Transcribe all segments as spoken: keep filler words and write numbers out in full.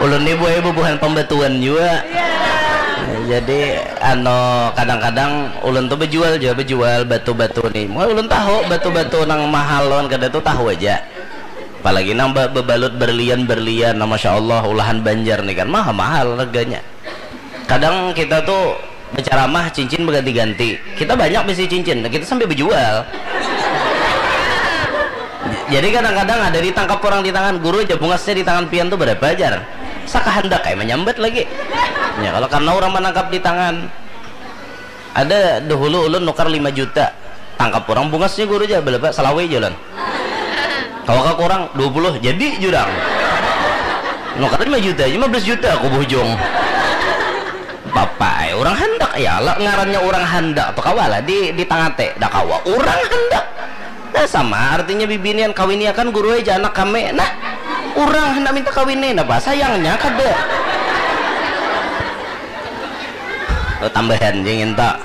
Ulun ni buai bubuhan pambatuan jua. Jadi anu, kadang-kadang ulun tu bejual jua, bejual batu-batu ni. Muha ulun tahu batu-batu nang mahal lawan kada tu tahu aja. Apalagi nang be- bebalut berlian-berlian, nah masya Allah ulahan Banjar ni kan maha mahal harganya. Kadang kita tu berceramah cincin berganti-ganti, kita banyak bisi cincin, kita sambil bejual. Jadi kadang-kadang ada ditangkap orang di tangan, guru aja bungasnya di tangan pian tu berapa ajar? Sakahandak kayak menyambat lagi. Ya kalau karena orang menangkap di tangan. Ada dahulu ulun nukar lima juta, tangkap orang bungasnya guru aja berapa? Selawe jalan. Kawa kurang dua puluh jadi jurang. Nukar lima juta aja lima belas juta aku bujung. Bapak, eh, orang handak ya lah ngarannya orang handak tu kawa lah di di tangate dah kawa orang handak. Nah sama artinya bibinian kawini akan guru aja anak kami nah orang hendak minta kawini nah bah sayangnya kada. Oh, tambahan jing inta.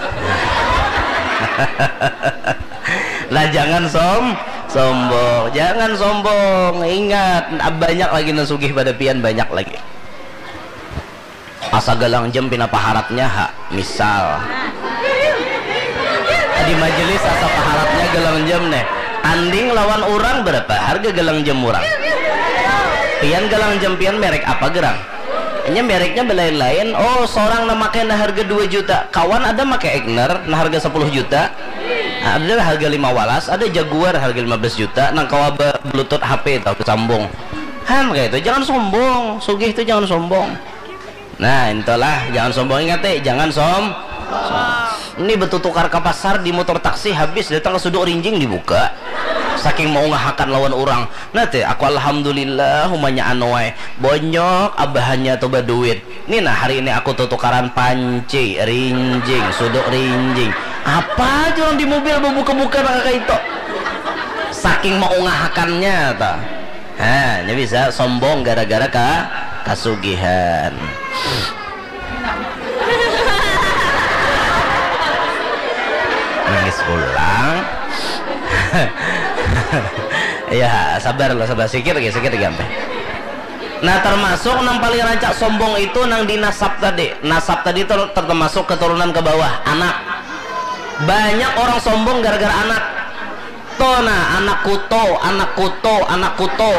Lah jangan som sombong, jangan sombong. Ingat, banyak lagi nang sugih pada pian, banyak lagi. Asa galang jam pina paharatnya ha, misal. Di majelis asa paharatnya galang jam neh. Tanding lawan urang berapa harga galang jam urang? Pian galang jam pian merek apa gerang? Nya mereknya belain-lain. Oh, seorang nang makai nang harga dua juta. Kawan ada makai Egner nang harga sepuluh juta. Ada harga lima walas, ada Jaguar harga lima belas juta nang kawa be- bluetooth H P tau besambung. Han kayak itu, jangan sombong. Sugih itu jangan sombong. Nah, intolah, jangan sombong, ingat eh, jangan som. Ini betutukar ke pasar di motor taksi habis datang ke suduk rinjing dibuka. Saking mau ngahakan lawan orang. Nah, teh, aku alhamdulillah umanya anu wae. Bonyok abahannya tuh baduit. Ini nah hari ini aku tutukaran panci, rinjing, suduk rinjing. Apa aja orang di mobil buka-buka nang kayak itu. Saking mau ngahakannya tuh. Ha, nya bisa sombong gara-gara ka kasugihan. Nangis pulang. Ya, sabar lah, sabar. Sikit lagi, sikit lagi sampai. Nah, termasuk nang paling rancak sombong itu nang di nasab tadi. Nasab tadi ter- termasuk keturunan ke bawah, anak. Banyak orang sombong gara-gara anak. To nah, anak kuto, anak kuto, anak kuto.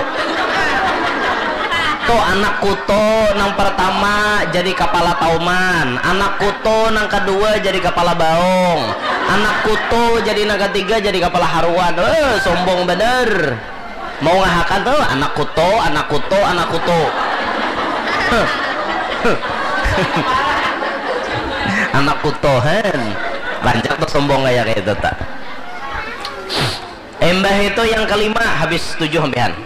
To anak kuto nang pertama jadi kepala tauman, anak kuto nang kedua jadi kepala baung, anak kuto jadi nang ketiga jadi kepala haruan. Eh, sombong bener. Mau ngahakan tuh anak kuto, anak kuto, anak kuto. Anak kuto hen. Rancak tuh sombong kayak kayak itu tak. Imbah itu yang kelima, habis tujuh sampean.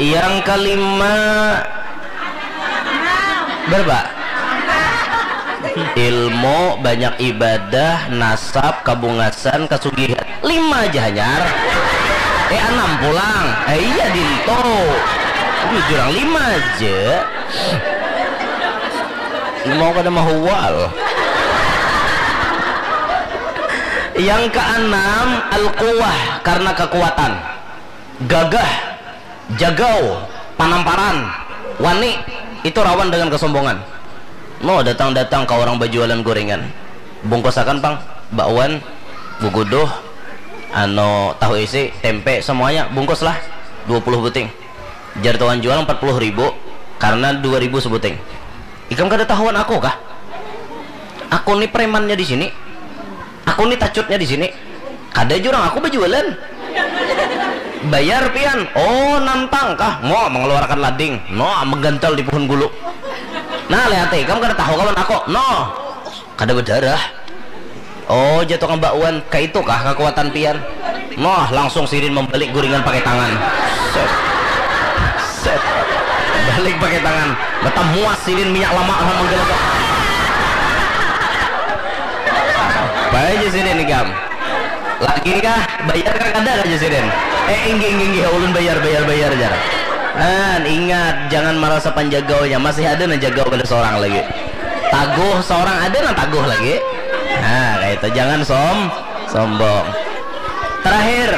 Yang kelima berapa? Ilmu, banyak ibadah, nasab, kabungasan, kasugihan. Lima aja hanyar. Eh, enam pulang. Eh, iya dinto. Ini jurang lima aja. Mau kada mahual. Yang keenam, al-quwah, karena kekuatan. Gagah, jagau, panamparan, wani, itu rawan dengan kesombongan. Mau datang-datang ke orang berjualan gorengan, bungkusakan pang, bakwan, guguduh, anu, tahu isi, tempe, semuanya bungkuslah, dua puluh buting. Jar tuan jual empat puluh ribu karena dua ribu sebuting. Ikam kada tahuan aku kah? Aku ni premannya di sini. Aku ni tacutnya di sini. Kada jurang aku berjualan. Bayar pian. Oh, nantang kah? Mau mengeluarkan lading. No, menggantal di pohon gulu. Nah, lihat ikam kada tahu kawan aku. No. Kada berdarah. Oh, jatuh ke bakwan. Kayak itu kah kekuatan pian? Noh, langsung sidin membalik guringan pakai tangan. Set. Set. Balik pakai tangan. Mata muas sidin minyak lama lah menggelegek. Apa aja sidin ikam? Lagi kah? Bayar kah kada aja sidin? Eh, inggih, inggih, inggih, ulun bayar, bayar, bayar, jar. Nah, ingat, jangan merasa panjagaunya. Masih ada nah jagau kada seorang lagi. Taguh seorang ada nang taguh lagi. Nah, kayak itu jangan som sombong. Terakhir,